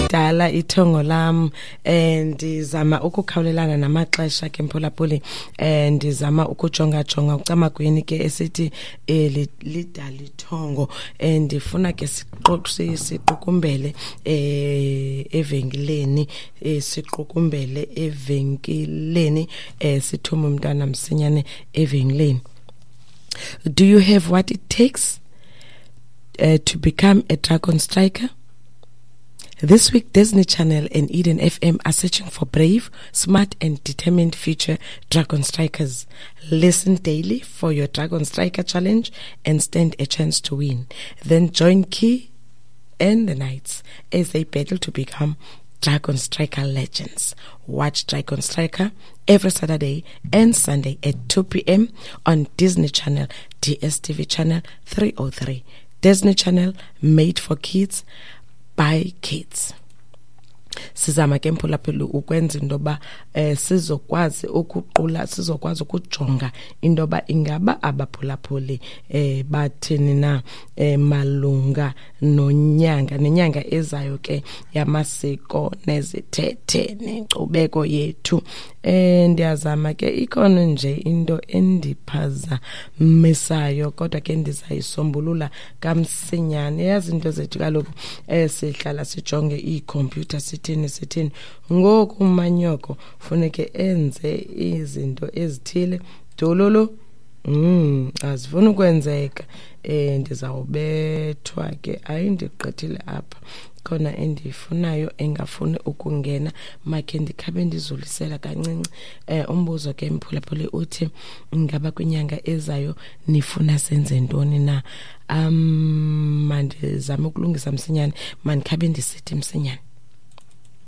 Lidala ithongo lam, ndizama ukukhawulelana namaxesha ke, mphulaphuli. Ndizama ukujonga jonga ucamagweni ke esithi lidala ithongo. Ndifuna ke siqukumbele evenkileni, siqukumbele evenkileni, sithume umntwana msinyane evenkileni. Do you have what it takes to become a Dragon Striker? This week, Disney Channel and Eden FM are searching for brave, smart, and determined future Dragon Strikers. Listen daily for your Dragon Striker challenge and stand a chance to win. Then join Key and the Knights as they battle to become Dragon Striker legends. Watch Dragon Striker every Saturday and Sunday at 2 p.m. on Disney Channel, DSTV Channel 303. Disney Channel, made for kids by kids. Sizama ke, mphulaphuli, ukwenza into yoba sizokwazi ukuqula, sizokwazi ukujonga into yoba ingaba abaphulaphuli bathini na malunga nonyanga nenyanga ezayo ke yamasiko nezithethe nenkcubeko yethu. Ndiyazama ke, ikhona nje into endiphazamisayo, kodwa ke ndizayisombulula kamsinyane. Yazi into zethu kaloku, sihlala sijonge iikhompyutha, sithini sithini. Ngoku umanyoko funeke enze izinto ezithile, dololo, azifuni ukwenzeka. Ndizawubethwa ke, ayindigqithile apha, khona endiyifunayo engafuni ukungena. Makhe ndikhabe ndizulisela kancinci. Umbuzo ke, mphulaphuli, uthi ingaba kwinyanga ezayo nifuna senze ntoni na? Mandizame ukulungisa msinyane, mandikhabe ndisithi msinyane.